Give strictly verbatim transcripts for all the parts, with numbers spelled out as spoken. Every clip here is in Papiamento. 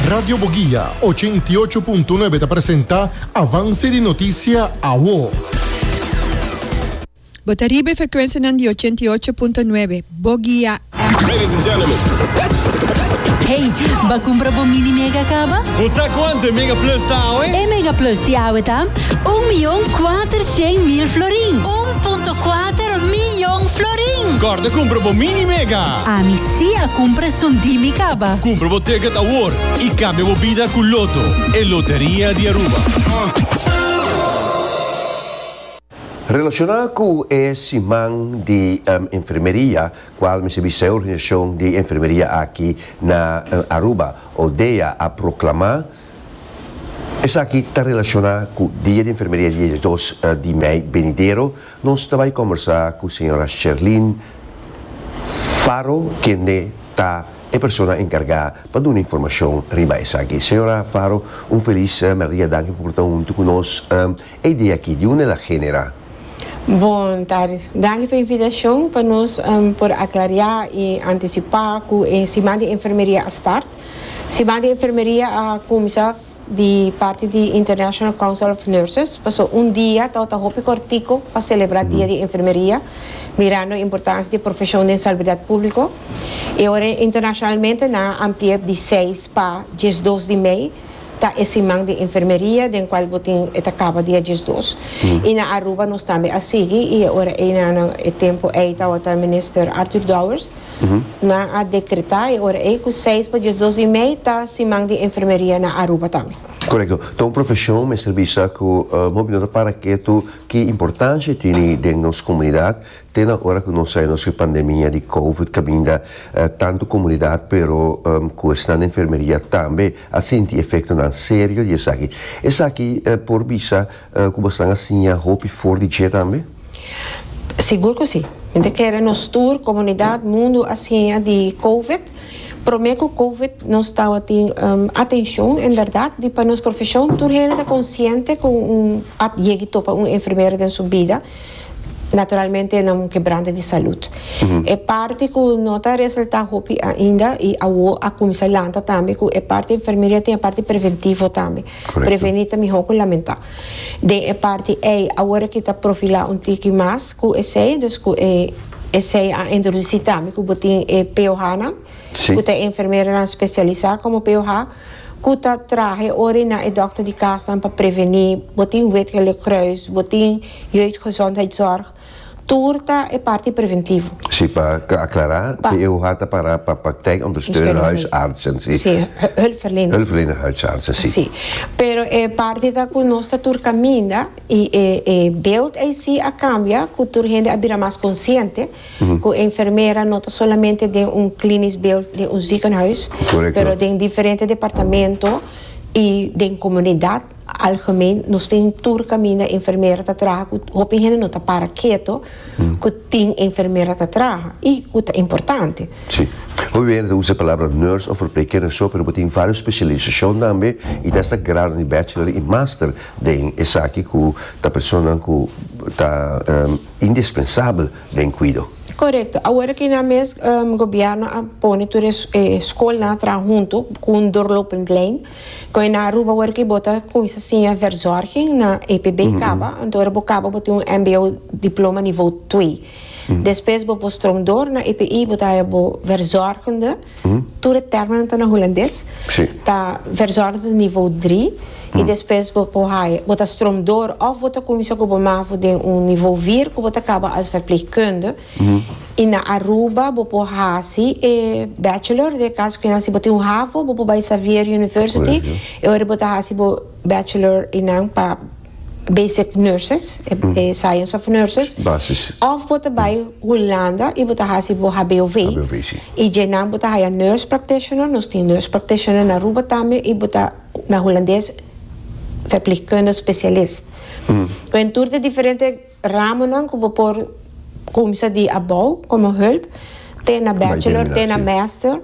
Radio Boguia ochenta i ocho punto nuebe ta presenta Avance di Noticia Awo. Bo ta riba frecuencia di ochenta i ocho punto nuebe. Boguia. Ladies and gentlemen. Hey, b'a cumpra bo Mini Mega caba? Bo cuanto Mega Plus ta, eh? E Mega Plus di awe ta un miyon cuatershen mil florin. un punto cuater miyon florin. Corda cumpra bo Mini Mega. Ami si a cumpra esun di mi caba. Cumpra bo ticket awor y cambia bo bida cu Lotto, e loteria di Aruba. Relaciona cu e siman di um, enfermeria, cual mi e organisacion di enfermeria aki na uh, Aruba, ODEA, a proclama, esaki ta relaciona cu Dia di Enfermeria, dia dos uh, di mei venidero. Nos ta bay combersa cu señora Sherlyn Faro, kende ta e persona encarga pa duna informacion riba esaki. Señora Faro, un feliz uh, dia, danki pa ta hunto cu nos um, e dia aki, di unda el a genera? Bon tardi. Danki pa e invitacion pa nos um, por aclara y anticipa cu e siman di enfermeria a start. Siman di enfermeria a cuminsa di parti di International Council of Nurses. Paso un dia ta ta hopi cortico pa celebra mm. Dia di enfermeria, mirando e importancia di profesion di salubridad publico. Y awor internacionalmente nan a amplia di seis pa diesdos di mei ta e siman di enfermeria, den cual bo tin e ta caba dia diesdos. Mm. Y na Aruba nos tambe a sigui y awor na e tempo ey ta minister Arthur Dowers mm -hmm. nan a decreta y awor ey cu seis pa diesdos di mei ta siman di enfermeria na Aruba tambe. Correcto. Anto, un profesion, mester bisa cu uh, movimento para cu tu ki importancia tin den nos comunidad, te na ora cu nos a haya nos pandemia di COVID, caminda uh, tanto comunidad, pero um, cu esnan den enfermeria tambe, a sinti efectonan serio di esaki. Esaki uh, por bisa uh, cu boso a siña hopi for di dje tambe? Sigur cu si. Mi ta kere nos tur, comunidad, mundo a siña di COVID. Prome cu COVID nos tabatin um, atencion, en berdad, di pa nos profesion, tur hende ta consciente cu un a yega topa un enfermero den su bida, naturalmente na un quebrante di salud. Uhum. E parti cu no ta resalta hopi ainda y awo a cuminsa lanta tambe cu e parti enfermeria tin e parti preventivo tambe. Preveni ta miho cu lamenta. Den e parti ey awor cu ta profila un tiki mas cu esey, dus cu e esey a introduci tambe cu bo tin e P O H nan, cu ta enfermera specialisa como P O H, cu ta traha ora na e dokter di cas pa preveni, bo tin Wit Gele Kruis, bo tin jeugdgezondheidszorg, tur ta e parti preventivo. Si, pa aclara, P O H ta para pa praktijk ondersteunende huisartsen. Si, si, hulpverleners. Hulpverlenende huisartsen, si. Si. Pero e parti ta cu nos ta tur caminda y e, e beeld ey a cambia, cu tur hende a bira mas consciente, mm -hmm. cu enfermera no ta solamente den un klinisch beeld di un ziekenhuis, Correcto. pero den diferente departamento y den comunidad algemeen, nos tin tur caminda enfermera ta traha, cu hopi hende no ta para keto, mm. cu tin enfermera ta traha y cu ta importante. Si. Hopi hende usa e palabra nurse of verpleegkundige so, pero tin varios specialisacion tambe y ta esta grado di bachelor y master den esaki cu ta persona cu ta um, indispensabel den cuido. Correcto. Awor cu na mes um, gobierno a pone tur eh, scol nan traha hunto cu un doorlopend lijn. Cu na Aruba awor cu bo ta cuminsa siña verzorging na E P B mm -hmm. caba, anto ora bo caba bo tin un M B O diploma niveau twee. Mm -hmm. Despues bo por stroom door na E P I, bo ta bo verzorgende. Mm -hmm. Tur e termen ta na Hulandes. Si. Ta verzorgende niveau drie. Mm. Y despues bo por haya, bo ta stroom door of bo ta cuminsa cu bo mavo den un niveau vier, cu bo ta caba als verpleegkundige. Mm. Y na Aruba bo por hasi e bachelor, den caso cu si bo tin un HAVO, bo por bay Xavier University, y ora bo ta hasi bo bachelor in pa basic nurses, mm. e, science of nurses. Basis. Of bo ta bay Hulanda y bo ta hasi bo H B O V. H B O V, si. Y djenan bo ta haya nurse practitioner, nos tin nurse practitioner na Aruba tambe y bo ta na Hulandes verpleegkundige specialist. Mm. En tur de diferente ramen cu bo por cuminsa di abou como hulp, te na bachelor, te na master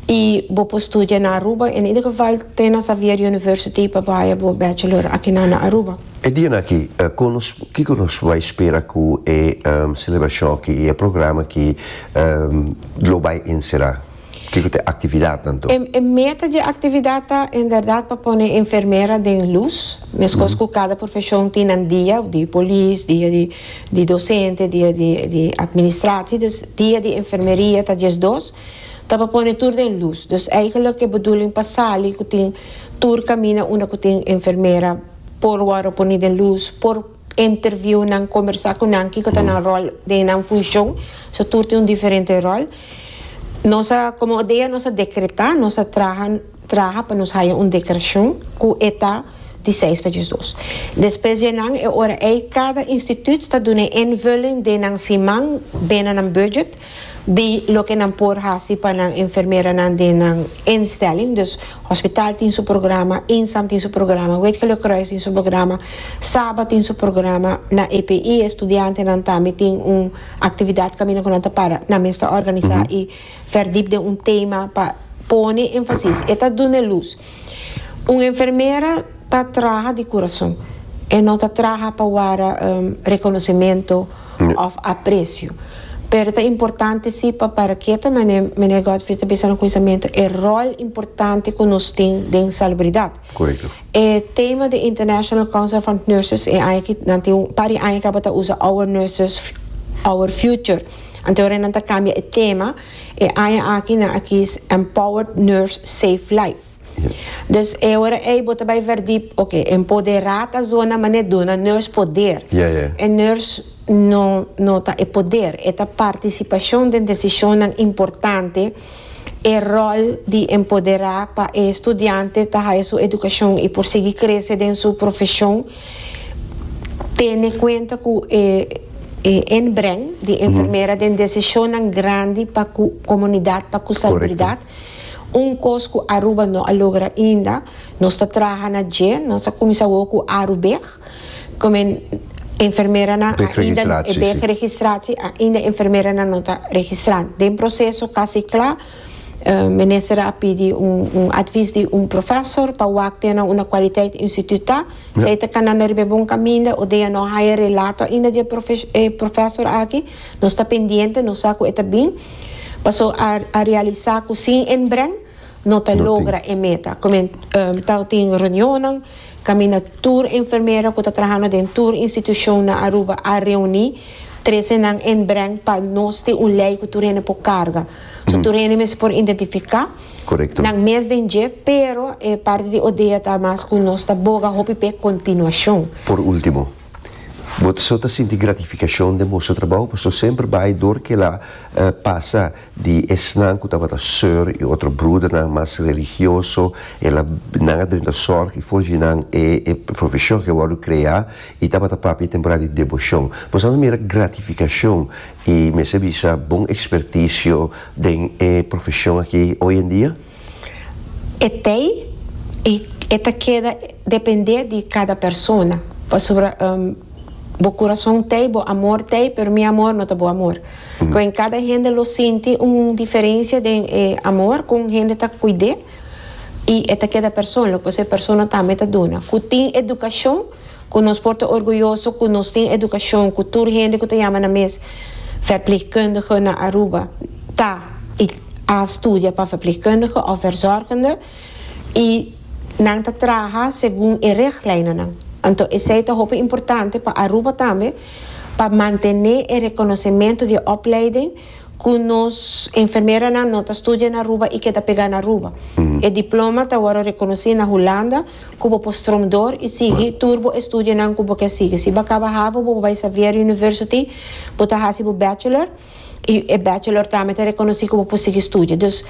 y bo por studia na Aruba, in ieder geval te na Xavier University pa haya bo bachelor aki na Aruba. E dia aki, uh, con nos, kico nos bay spera cu e um, celebracion aki y e programa cu um, lo bay encera? Kiko ta e aktividat anto? E, e meta di aktividat ta inderdaad pa pone enfermera den lus, meskos ku kada profeshon tin un dia, di polis, dia di, di dosente, dia di, di administratie, dus dia di enfermeria ta diesdos, ta pa pone tur den lus. Dus eigenlijk e bedoeling pa sali ku tin tur kaminda unda ku tin enfermera por wòrdu pone den lus, por interview nan, kombersá ku nan, kiko ta nan ròl den nan funshon, so tur tin un diferente ròl. Nos a, komo O D E A, nos a dekretá, nos a traha, traha pa nos haya un deklarashon ku ta di seis pa diesdos. Despues di nan, e ora ei kada instituut ta duna invulling di nan siman binnen een budget di loke nan por hasi pa nan enfermera nan den nan instelling. Dus hospital tin su programa, INSAM tin su programa, Wit Gele Kruis tin su programa, SABA tin su programa, na E P I studiantenan tambe tin un aktividat kaminda ku nan ta para nan mes ta organisá i verdiep den un tema pa pone énfasis. E ta duna lus. Un enfermera ta traha di kurason. E no ta traha pa um, rekonosementu òf apresio. Pero ta importante sí pa para ku meneer meneer Godfrey ta pensando konosementu e ròl importante ku nos tin den salubridat. Korekto. E tema di International Council of Nurses e eigenlijk nan tin un par di aña ku usa "Our Nurses, Our Future". Anto nan ta kambia e tema e aña aki nan a kies "Empowered Nurse, Save Life". Dus e ora ei bo ta bai verdiep, oké, empoderá ta zona manera duna nurse poder. Yeah, yeah. E nurse no no ta e poder, e ta partisipashon den desishon importante, e ròl di empoderá pa e studiante ta su edukashon i por sigui krese den su profeshon, tene kuenta ku e e inbreng di enfermera den desishon grandi pa e komunidat, pa e salubridat. Un kos ku Aruba no a logra ainda, nos ta trahando na dje, nos a kuminsá ku Arubeg, komo enfermera nan ainda B-registratie. B-registratie, ainda enfermera nan no ta registrá. Den proseso kasi kla, uh, minister a pidi un, un advies di un professor pa wak un kwaliteit instituut. Ja. Esei ta kanando riba bon kaminda, O D E A no haya relato ainda di profe eh, professor aki, nos ta pendiente, nos sa ku e ta bin. Paso a, a realisá ku sin inbreng, no ta logra e meta. Komo um, ta tin reunion, kaminda tur enfermera ku ta trahando den tur institushon na Aruba a reuní, trese nan inbreng pa nos tin un lei ku tur hende por karga. So tur hende mes por identifiká. Korekto. Nan mes den dje, pero e parti di O D E A ta mas ku nos ta boga hopi pe kontinuashon. Por último, bo ta sinti gratifikashon di bo trabou, bo semper bai dor ku el a uh, pasa di esnan ku tabata sùr i otro broedernan mas religioso, el a nan a drenta zorg i for di nan e, e profeshon ku a wòrdu kreá i tabata papia temporada di deboshon. Bo ta mira gratifikashon i mester bisa bon ekspertisio den e profeshon aki hoi en dia? E tei i e ta keda dependé di kada persona. Pasobra um, bo kurason tei, bo amor tei, pero mi amor no ta bo amor. Mm. Ku kada hende lo sinti un diferensia di eh, amor ku hende ta kuida i e ta keda persona, ku e persona tambe ta duna. Ku tin edukashon, ku nos por ta orguyoso, ku nos tin edukashon, ku tur hende ku ta yama nan mes verpleegkundige na Aruba, ta i a studia pa verpleegkundige òf verzorgende i nan ta traha segun e richtlijnen. Anto, esei ta hopi importante pa Aruba tambe, pa mantené e rekonosementu di opleiding ku nos enfermeranan no ta studia na Aruba i keda pegá na Aruba. Mm. E diploma ta awor rekonosí na Hulanda komo por stroom door i sigui tur bo estudionan ku bo ke sigui. Si bo kaba HAVO, bo bai Xavier University, bo ta hasi bo bachelor i e bachelor tambe ta rekonosí komo por sigui studia. Dus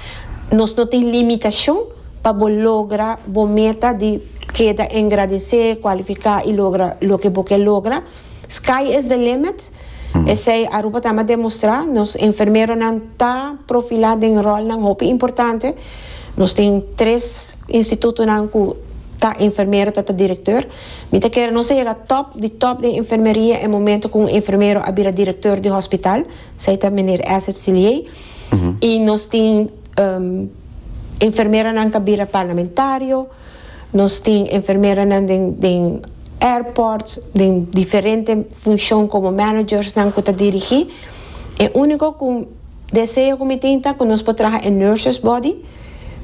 nos no tin limitashon pa logra bo meta di keda engrandesé, kualifiká i logra loke bo ke logra. Sky is the limit. Mm. Esei Aruba tambe a demostrá, nos enfermeronan ta profilá den ròlnan hopi importante. Nos tin tres institutonan ku ta enfermero ta, ta direktor. Mi ta kere nos a yega top di top di enfermeria e momento ku un enfermero a bira direktor di hospital, esei ta meneer Asset Silier. Mm -hmm. I nos tin um, enfermeronan ku a bira parlamentario, nos tin enfermeronan den, den airports, den diferente funshon komo managers nan ku ta dirigí. E úniko ku Deseo ku mi tin ta ku nos por traha e nurses body,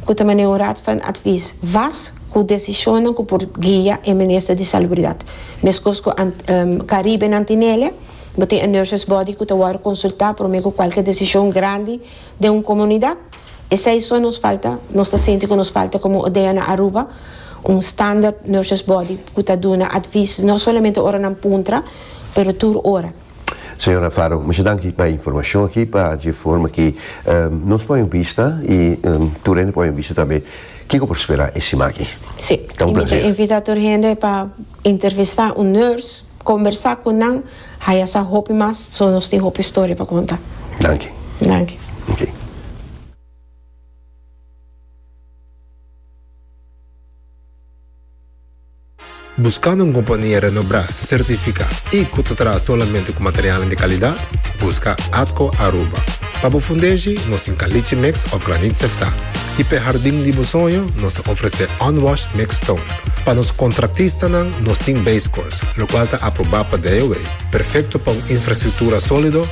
ku ta un raad van advies vast, ku desishon ku por guia e minister di Salubridat. Meskos ku um, Caribe nan tin'é, bo tin un nurses body ku ta konsultá pa ku kualke desishon grandi di un komunidat. Esei so nos falta, nos ta sinti ku nos falta komo ODEA na Aruba, un standard nurses body ku ta duna advies, no solamente ora nan puntra, pero tur ora. Señora Faro, masha danki pa e informashon aki, pa e forma ku um, nos pone un bista i um, tur hende pone un bista tambe. Kiko por spera e siman aki? Si. Ta un plaser. Invitá tur hende pa entrevistá un nurse, kombersá ku nan, haya sa hopi mas, so nos tin hopi historia pa konta. Danki. Danki. Ok. Buskando un kompania renombrá, sertifiká i ku ta traha solamente ku material di kalidat? Buska Atco Aruba. Pa bo fundeshi, nos tin caliche mix òf graniet seftá. I pa hardin di bo soño, nos ta ofresé unwashed mixed stone. Pa nos kontratistanan, nos tin base course, lokual ta aprobá pa D O W. Perfekto pa un infrastruktura sólido,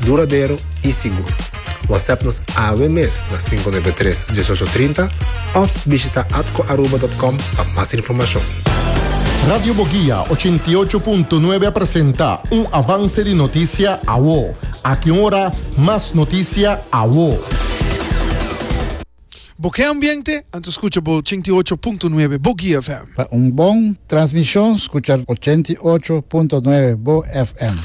duradero i sigur. WhatsApp nos awe mes na sinku nuebe tres diesocho trinta òf bishitá atcoaruba punto com pa mas informashon. Radio Bo Guia ochenta i ocho punto nuebe presentá un avance di notisia awo. Aki ora, mas notisia awo. Bo ke ambiente? Anto skucha bo ochenta i ocho punto nuebe Bo Guia F M. Pa un bon transmishon, skucha ochenta i ocho punto nuebe Bo F M.